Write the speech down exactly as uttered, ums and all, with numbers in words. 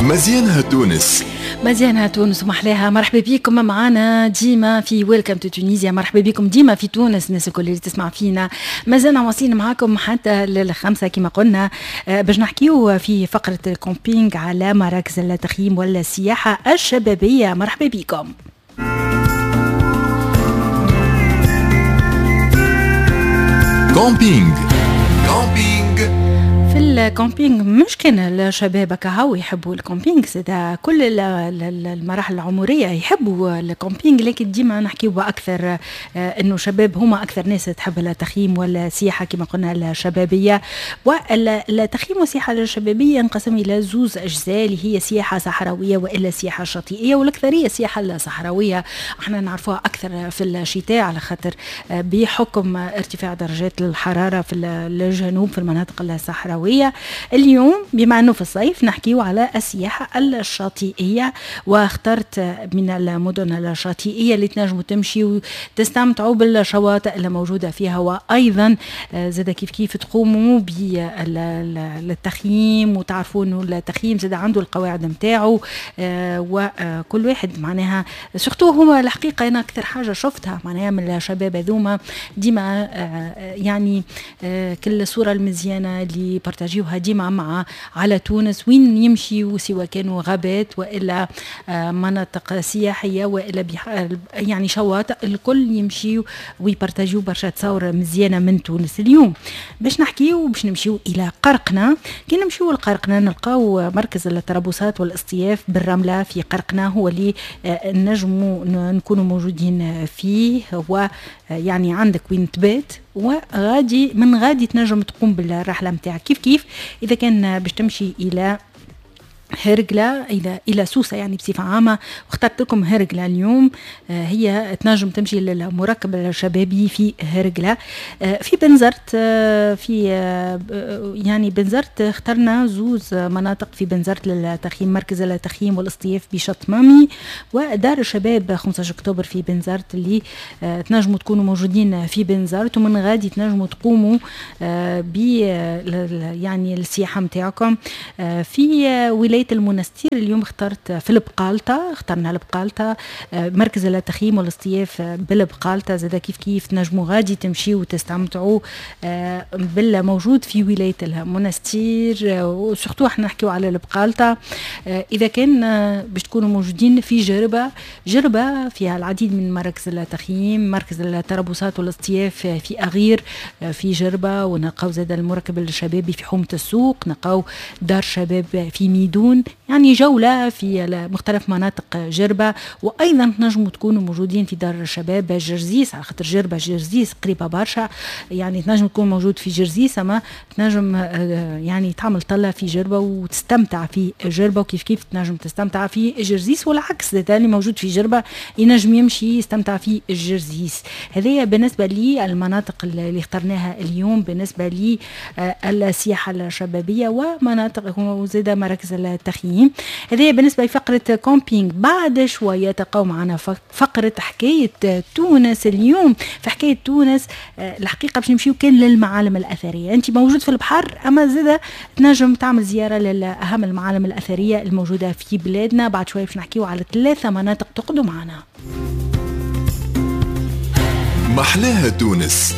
مزيانها تونس، مزيانها تونس ومحلاها. مرحبا بكم معنا ديما في Welcome to Tunisia، مرحبا بكم ديما في تونس الناس الكل اللي تسمع فينا. مازلنا واصلين معاكم حتى للخمسة كما قلنا باش نحكيو في فقرة ال camping على مراكز التخييم والسياحة الشبابية. مرحبا بكم. camping camping في ال camping مش كان الشباب كهو يحبوا ال camping، زاد كل المراحل العمرية يحبوا ال camping، لكن ديما نحكيو اكثر انه شباب هما اكثر ناس تحب التخييم والسياحة كما قلنا الشبابية. والتخييم والسياحة الشبابية ينقسم الى زوز اجزاء اللي هي سياحة صحراويه والا سياحة شاطئيه، والاكثريه السياحة الصحراوية احنا نعرفوها اكثر في الشتاء على خاطر بحكم ارتفاع درجات الحرارة في الجنوب في المناطق الصحراوية. اليوم بما انه في الصيف نحكيو على السياحة الشاطئيه، واخترت من المدن الشاطئيه اللي تنجموا تمشيوا وتستمتعوا بالشواطئ اللي موجودة فيها، وايضا زاد كيف كيف تقوموا بالتخييم وتعرفوا انه التخييم زاد عنده القواعد نتاعو، وكل واحد معناها surtout هما الحقيقة انا اكثر حاجة شفتها معناها من الشباب هذوما ديما يعني كل الصورة المزيانه اللي بارتاجيوها ديما مع على تونس وين يمشيوا، سواء كانوا غابات والا مناطق سياحية والا يعني شواطئ، الكل يمشيوا ويبارتاجيو برشا تصاور مزيانه من تونس. اليوم باش نحكيو باش نمشيو الى قرقنة. كي نمشيو لقرقنة نلقاو مركز التربصات والاصطياف بالرمله في قرقنة، هو اللي نجموا نكونوا موجودين فيه، هو يعني عندك وين تبات وغادي من غادي تنجم تقوم بالرحله نتاعك. كيف كيف اذا كان باش تمشي الى هرقلة إلى إلى سوسة يعني بصفة عامة، واخترت لكم هرقلة اليوم، هي تنجم تمشي للمركب الشبابي في هرقلة. في بنزرت، في يعني بنزرت اخترنا زوز مناطق في بنزرت للتخييم، مركز التخييم والاصطياف بشط مامي ودار الشباب خمسة عشر أكتوبر في بنزرت، اللي تنجموا تكونوا موجودين في بنزرت ومن غادي تنجموا تقوموا ب يعني السياحة نتاعكم. في ولاية المنستير اليوم اخترت في البقالطة، اخترنا البقالطة مركز التخييم والاصطياف بالبقالطة، زاد كيف كيف تنجموا غادي تمشيوا وتستمتعوا بالموجود في ولاية المنستير، و surtout احنا نحكيو على البقالطة. اذا كان باش تكونوا موجودين في جربة، جربة فيها العديد من مراكز التخييم، مركز التربصات والاصطياف في أغير في جربة، ونلقاو زاد المركب الشبابي في حومة السوق، نلقاو دار شباب في ميدون، يعني جولة في مختلف مناطق جربة. وأيضا تنجموا تكونوا موجودين في دار الشباب جرزيس، على خاطر جربة جرزيس قريبة برشا، يعني تنجم تكون موجود في جرزيس أما تنجم يعني تعمل طلة في جربة وتستمتع في جربة، وكيف كيف تنجم تستمتع في جرزيس، والعكس اللي موجود في جربة ينجم يمشي يستمتع في جرزيس. هذه بالنسبة لي المناطق اللي اخترناها اليوم بالنسبة لي السياحة الشبابية ومناطق وزاد مراكز التخييم. هذه بالنسبة لفقرة camping. بعد شوية تلقاو معنا فقرة حكاية تونس. اليوم في حكاية تونس الحقيقة باش نمشيو كان للمعالم الأثرية. أنت موجود في البحر أما زادة تنجم تعمل زيارة لأهم المعالم الأثرية الموجودة في بلادنا. بعد شوية باش نحكيو على ثلاثة مناطق تقعدوا معنا. محلاها تونس.